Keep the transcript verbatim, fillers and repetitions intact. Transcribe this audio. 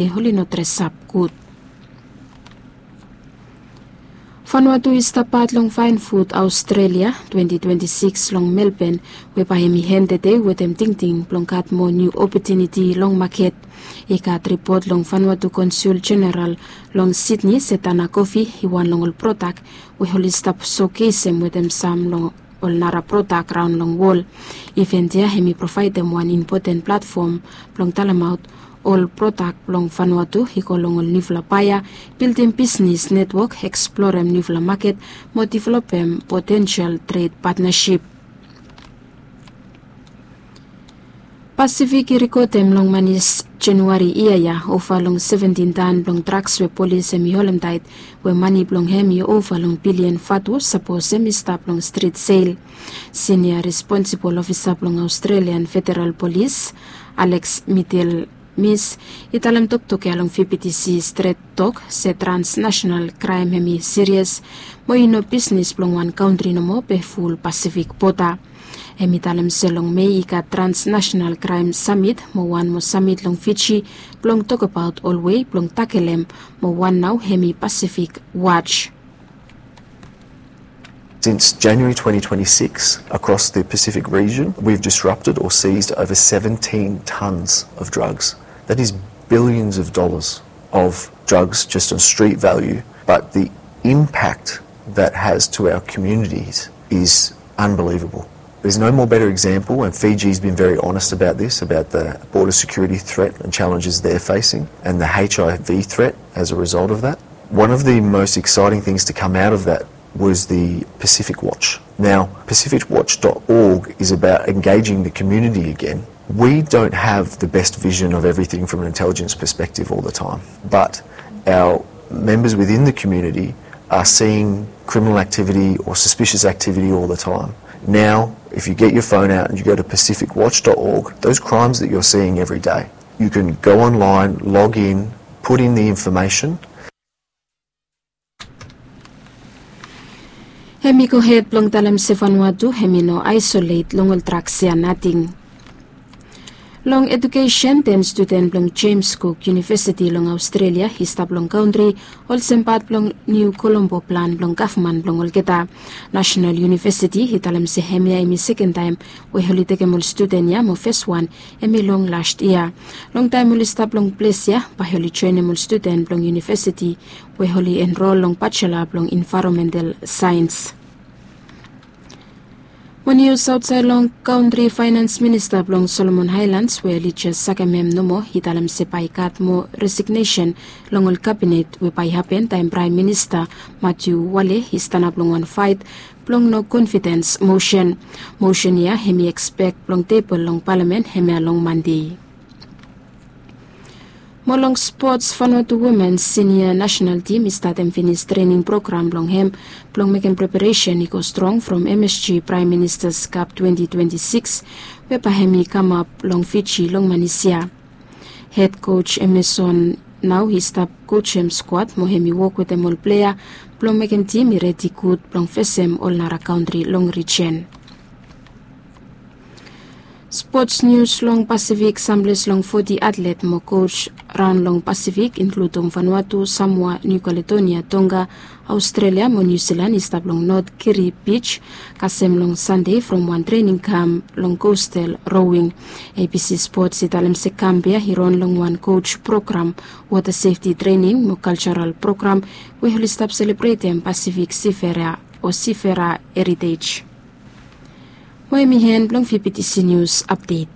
oli no dresap gud. Vanuatu i stap pat long Fine Food Australia twenty twenty-six long Melbourne, we bae hemi hen tede wetem tingting blong gat moa niu opotuniti long maket. I gat ripot long Vanuatu Konsul Jeneral long Sydney se Tana Kofi i wan long ol prodak we oli stap sokesem wetem sam long ol nara prodak raon long wol. Iven ya hemi provaedem wan impoten platfom blong talemaot ol prodak blong Vanuatu i go long ol niufala baea, bildim bisnis netwok, eksplorem niufala maket mo developem potensel tred patnasip. Pasifik i rikodem long manis Januari yia ya ova long seventin tan blong draks we polis hemi holemtaet, we mane blong hem i ova long bilian vatu sapos hemi stap long strit sel. Sinia responsibol ofisa blong Australian Federal Polis, Alex Middle Mis, i talem toktok ya long V P T C Stret Tok se transnational kraem hemi sirias, mo i no bisnis blong wan kantri nomo be ful Pasifik boda. Hemi talem se long Mei i gat transnational kraem samit mo wan mo samit long Fiji blong tokbaot ol wei blong takelem, mo wan nao hemi Pasifik Watch. Since January twenty twenty-six, across the Pacific region, we've disrupted or seized over seventeen tons of drugs. That is billions of dollars of drugs just on street value, but the impact that has to our communities is unbelievable. There's no more better example, and Fiji's been very honest about this, about the border security threat and challenges they're facing, and the H I V threat as a result of that. One of the most exciting things to come out of that was the Pacific Watch. Now, Pacific Watch dot org is about engaging the community again. We don't have the best vision of everything from an intelligence perspective all the time, but our members within the community are seeing criminal activity or suspicious activity all the time. Now, if you get your phone out and you go to Pacific Watch dot org, those crimes that you're seeing every day, you can go online, log in, put in the information. Hemi gohed blong talem se Vanuatu hemi no aesolet long ol draks ya nating. Long edukesen, ten studen blong James Cook University long Australia i stap long kantri, olsem pat blong Niu Kolombo plan blong gavman blong olgeta. Nasenal Yunivesiti i talem se hemia hemi seken taem we oli tekem ol studen ya, mo fes wan hemi long las yia. Long taem oli stap long ples ya, bae oli joenem ol studen blong yunivesiti we oli enrol long bajela blong envaeronmental saens. Mo nius aotsaed long kantri, faenans minista blong Solomon Aelans we oli jes sakem hem nomo i talem se bae i gat moa resignesen long ol kabinet we bae i hapen taem Praem Minista Matiu Wale i stanap long wan faet blong no konfidens mosen. Mosen ya hemi ekspek blong tebol long palamen hemia long Mande. Mo long spots, Vanuatu Women Sinia Nasenal Tim i statem finis trening program blong hem blong mekem preparesen i go strong from M S G Praem Minista's Cup twenty twenty-six, we bae hemi kamap long Fiji long manis ya. Hed koj Emerson nao i stap kojem skuad mo hemi wok wetem ol plea blong mekem tim i redi gud blong fesem ol nara kantri long rijen. Spots nius long Pasifik, samples long foti atlet mo koj raon long Pasifik, inkluding Vanuatu, Samoa, Niu Kaledonia, Tonga, Aostralia mo Niu Silan i stap long Not Kiri Bij, kasem long Sande from wan trening kamp long kostal rowing. A B C Spots i talem se kamp ya i ron long wan koj program, wota sefti trening mo kaljaral program we oli stap selebretem Pasifik Sifera o Sifera Heritej. Mo hemi en blong V P T C Nius Apdet.